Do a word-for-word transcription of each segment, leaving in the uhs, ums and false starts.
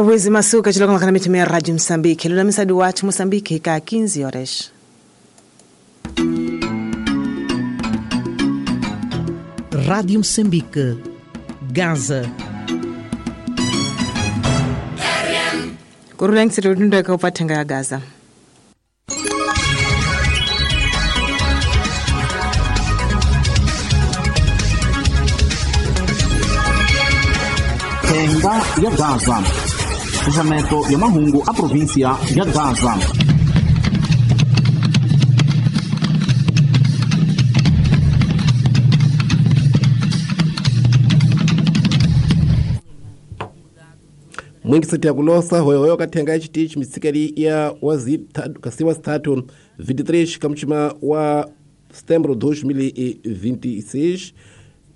Wezi masuka chiloko makana mitumia ya Radio Mozambique. Lula misadu watu Mozambique ka quinze horas. Rádio Moçambique, Gaza. Kurula ngisirudunda ka upathenga ya Gaza. Thenga ya Gaza. Xaxameto ya mahungu a província ya Gaza. Mwingiseti ya kulosa hoyohoyo kathenga chitichi mitsikeli ya kasiwa sitatu vinte e três kamuchima wa setembro dois mil e vinte e seis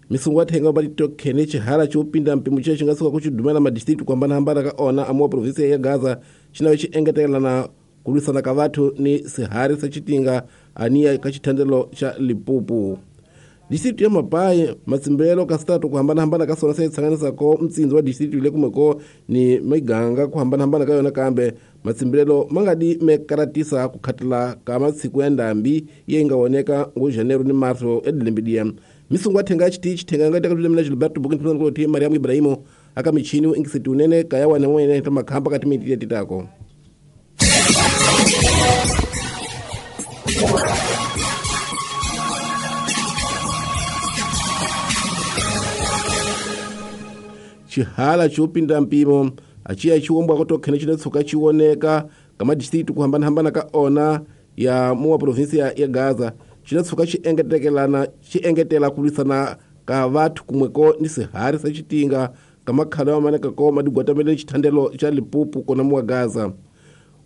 misungu athenga ubatitokhene chihala chiupinda mpimo che chingasuka kuchidumela madistritu kuhambanahambana ka ona amuwa província ya Gaza chinawe chiengetelana kulwisana ka vathu ni sihari sa chitinga aniya ka chithandelo cha Limpopo. Distritu ya Mapai matsimbelo ka sitatu kuhambanahambana ka sona se tsanganisako mtsindzi wa distritu ile kumeko ni miganga kuhambanahambana ka yona kambe matsimbelo mangadi mekaratisa kukhatela ka matsiku ya ndambi ye nga woneka ngo janeiro ni marso edilembidia misungu athenga chitichi thenga nga teka mina Gilberto Bukin ko ti Mariam Ibrahimo aka michini ingisiti unene kaya wana mwene ta makhamba kati mitile titako. Chihala chiupinda mpimo achiya chiwombwa kotokhene chinetsuka chioneka kama distritu kuhambanahambana ka ona ya muwa província ya Gaza chinetsuka chiengetekelana chiengetela kulwisana ka vathu kumweko ni sihari sa chitinga kamakhalo ya maneka ko madigwatamele chithandelo cha Limpopo kona muwa Gaza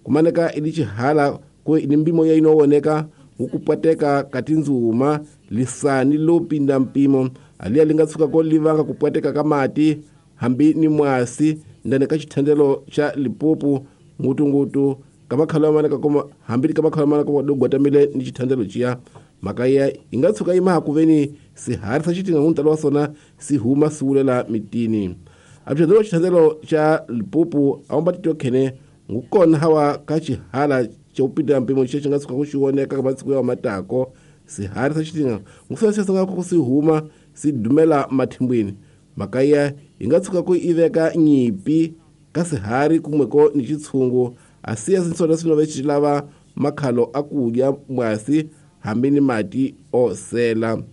kumaneka ili chihala ku ni mbimo ya inowoneka ngukupwateka katinzuma lisani lopinda mpimo aliya lingatsuka ko livanga kupwateka kamati hambi ni mwasi ndani ka chithandelo cha Limpopo ngutungutu kamakhalo ya maneka koma hambi kamakhalo ya maneka dogwatamile ni chithandelo chiya makaya ingatsuka ima hakuveni sihari sa chitinga nguntalo wa sona sihuma siwulela mitini apithandelo chithandelo cha Limpopo awambatitokhene ngukona hawa ka chihala chaupinda mpimo che chingatsuka kuchioneka kamatsiku ya matako sihari sa chitinga ngusasesanga kusihuma sidumela mathimbwini makaya ingatsuka ku iveka nyipi ka sihari kumweko ni chitshungu asiya sinsona sinove chilava makhalo akudya mwasi hambi ni mati osela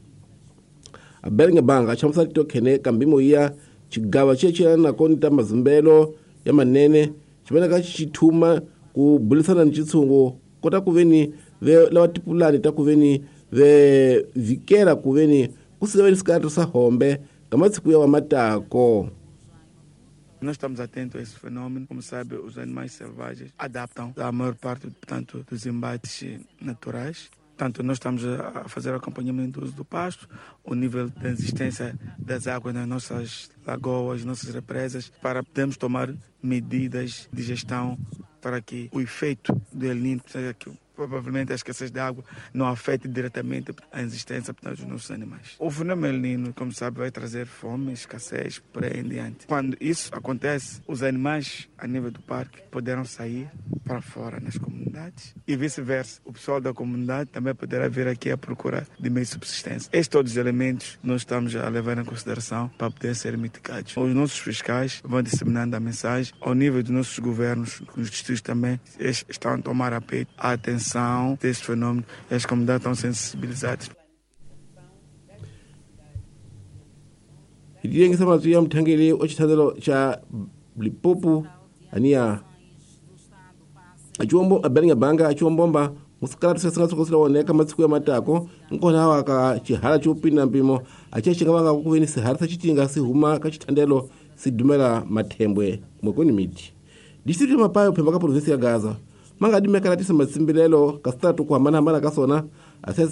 abelinge banga chamusa titokhene kambimo ya chigava chechilana konita mazimbelo ya manene chimeneka chithuma ku bulisana ni chitshungu kota kuveni ve lava tipulani ta kuveni ve vikela kuveni kusiveni sikati sa hombe kamatsiku ya matako. Nós estamos atentos a esse fenômeno. Como sabe, os animais selvagens adaptam a maior parte, portanto, dos embates naturais. Portanto, nós estamos a fazer acompanhamento do uso do pasto, o nível de resistência das águas nas nossas lagoas, nossas represas, para podermos tomar medidas de gestão para que o efeito do El Niño, seja que provavelmente a escassez de água não afete diretamente a existência, portanto, dos nossos animais. O fenômeno El Niño, como sabe, vai trazer fome, escassez, por aí em diante. Quando isso acontece, os animais a nível do parque poderão sair para fora nas comunidades e vice-versa. O pessoal da comunidade também poderá vir aqui à procura de meio de subsistência. Estes todos os elementos nós estamos a levar em consideração para poder ser mitigados. Os nossos fiscais vão disseminando a mensagem ao nível dos nossos governos, os distritos também, eles estão a tomar a peito a atenção deste fenômeno e as comunidades estão sensibilizadas. Idiyengisa mazwi ya mthangeli o chithandelo cha Limpopo ania achiwombo abelinga banga achiwombomba musikala tusesinga oneka matsiku ya matako nkona hawa ka chihala chiupinda mpimo achiya vanga kuveni sihari sa chitinga sihuma ka chithandelo sidumela mathembwe mwekoni miti distritu ya Mapayo phemba ka província ya Gaza mangadi mekaratisa matsimbilelo ka sitatu kuhambanahambana ka sona asiya